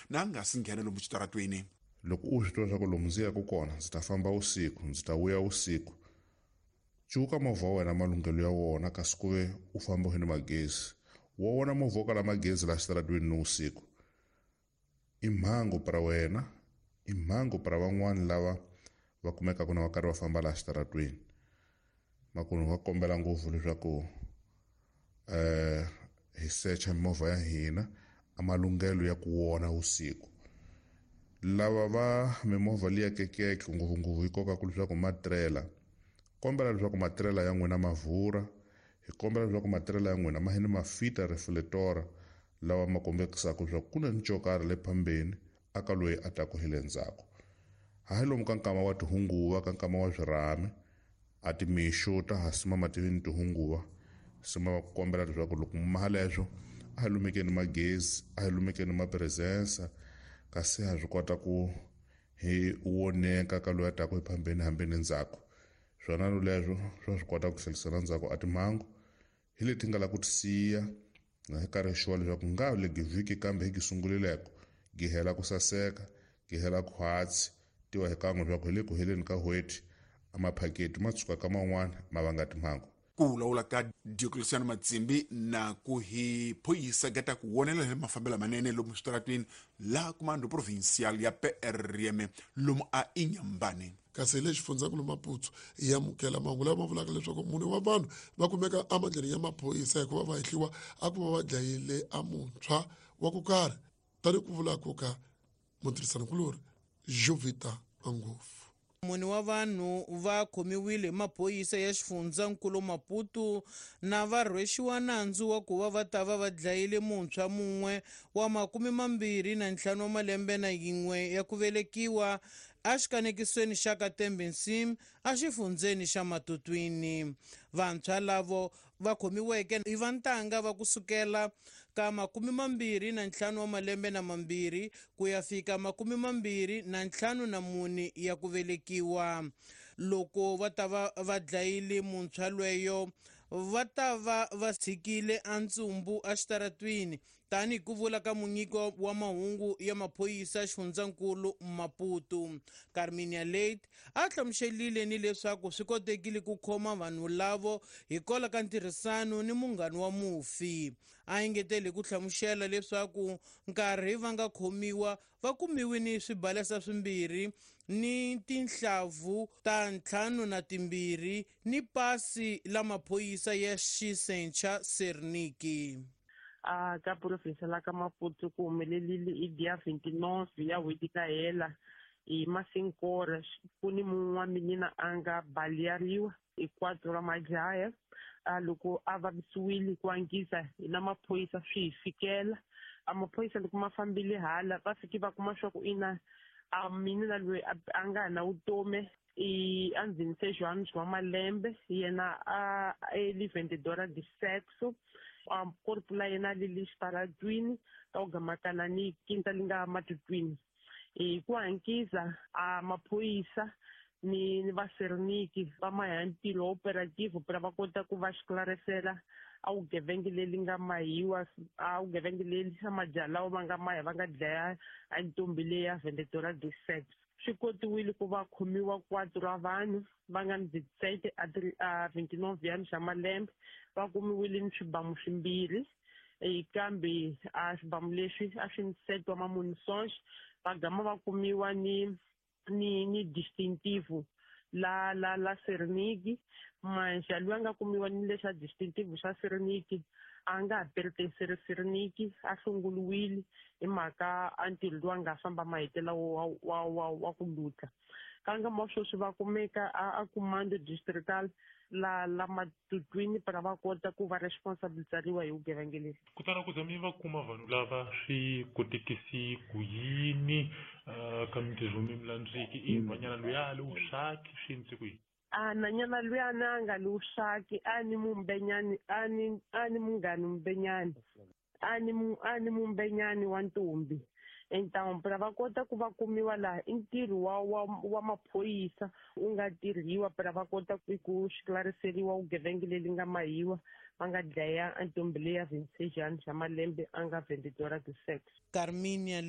Na nga si nghena lomu xitaratweni. Loko u swi tiva leswaku lomu ndzi yaka kona ndzi ta famba vusiku, ndzi ta vuya vusiku, cuka movha wa wena malunghelo ya wona, kasi ku ve u famba u ni magezi. Wa wona movha wo kala magezi laha xitaratweni ni vusiku, i mhangu pra wena, i mhangu pra van'wani lava va kumekaka na va karhi va famba laha xitaratweni. Makunu va kombela ngopfu leswaku hi secha mimovha ya hina a malunghelo ya ku wona vusiku. Lava va mimovha liya kekeke ngopfungopfu yi kokaka leswaku matirela, kombela leswaku matirela ya n'wina ma vhura, hi kombela leswaku matirela ya n'wina ma hini ma fita reflector lawa ma kombekisaka leswaku ku na ni xo karhi le phambeni aka loyi a taku hi le ndzhaku. Hayi lomu ka nkama wa tihunguva, ka nkama wa swirhami, a timixo ta ha sima mativini tihunguva, sima va ku kombela leswaku loko mi maha leswo a hi lumekeni magezi, a hi lumekeni mapresensa, kasi ha swi kota ku hi woneka ka loyi a taku hi phambeni hambi ni ndzhaku. Swona leswo swa swi kota ku tlhelisela ndzhaku a timhangu hi leti nga la ku ti siya na hi karhi sure leswaku nga le vhiki kambe hi gi sungulileko gi hela ku saseka, gi hela khwatsi, tiva hi kan'we leswaku hi le ku heleni ka n'hweti a maphaketi ma tshuka ka man'wana ma vanga timhangu. Ku vulavula ka Diocleciano Matsimbi na ku hi phoyisa gata ku wonela hi mafambelo manene lomu switaratweni la Comando Provincial ya PRM lomu a Inhambane. Kasi hi le xifundzankulu Maputo hi amukela mahungu lama ma vulaka leswaku mune wa vanhu va kumeka emandleni ya maphorisa hikuva va hehliwa a ku va va dlayile a muntshwa wa ku karhi, tani ku vula ku ka mutirhisanikulori Jovita Angofu. Mune wa vanhu va khomiwile hi maphorisa ya xifundzankulu Maputo na va rhwexiwa nandzu wa ku va va ta va va dlayile muntshwa mun'we wa 25 wa malembe na yin'we ya ku velekiwa exikanekisweni xa Katembe-Nsim exifundzeni xa Matutwini. Vantshwa lavo va khomiweke i vantanga va kusukela ka 25 wa malembe na mambirhi ku ya fika 24 ya ku velekiwa. Loko va ta va va dlayile muntshwa lweyo, va ta va va tshikile a ntsumbu exitaratwini, tanihi ku vula ka munyiki wa mahungu ya maphorisa xifundzankulu Maputo. Carminia Late a hlamuselile ni leswaku swi kotekile ku khoma vanhu lavo hikwalaho ka ntirhisano ni munghana wa mufi. A engetele ku hlamusela leswaku nkarhi va nga khomiwa va kumiwe ni swibalesa swimbirhi ni tinhlavu ta 52 ni pasi la maphorisa ya xisencha Serniki. A ka province la ka Maputo ku humelelile i dia 29 ya n'hweti ka hela hi masinkora ku ni mun'we wa minina a nga baleariwa hi 4 ra majaya. A loko a vavisiwile ku angisa hi na maphorisa swi hi fikela. A maphorisa loko ma fambile hala va fike va kuma swa ku ina a minina loyi a nga na vutomi i a ndzhenise João wa malembe, yena a eli vendedora de sexo, a corpo la yena li le xitaratwini ka ku gamakana ni quinta li nga Matutwini. Hi ku hankisa a maphorisa ni va Serniki va maha ntirho operative pra va kota ku va xiklarisela a vugevenga leri nga mahiwa, a vugevenga leri a majaha lawa ma nga maha va nga dlaya a ntombi leya vendedora de sex. Swi kotiwile ku va khomiwa 4 ra vanhu va nga ni 17 a 29 ya xa malembe, va kumiwile ni swibamu swimbirhi, kambe a swibamu leswi a swi ni set wa mamunisons, va gama va kumiwa ni distinctive la la la Serniki. Manxa loyi a nga kumiwa ni lexa distinctive xa Serniki a nga ha pertenceri Serniki, a hlongoliwile hi mhaka a ntirho lowu a nga famba mahetela wa ku lutla. Ka nkama wa sweswi va kumeka a Comando Distrital la Matutwini para va kota ku va responsabilizariwa hi vugevenga lebyi. Kutani ku za mi va kuma vanhu lava swi kotekisi ku yini ka mintirho mi milandziki i nhwanyana loyi a li wuswaki swi endlise ku yini? A nhwanyana loyi a na nga li wuswaki, a ni mumbenyani, a ni, a ni munghani mumbenyani. A ni mu, a ni mumbenyani wa ntombi. Então, pra va kota ku va kumiwa laha i ntirho wa maphorisa wu nga tirhiwa pra va kota ku xiklariseriwa vugevenga leri nga mahiwa va nga dlaya ntombi leya 26 anos ya malembe a nga vendedora de sex. Carminia le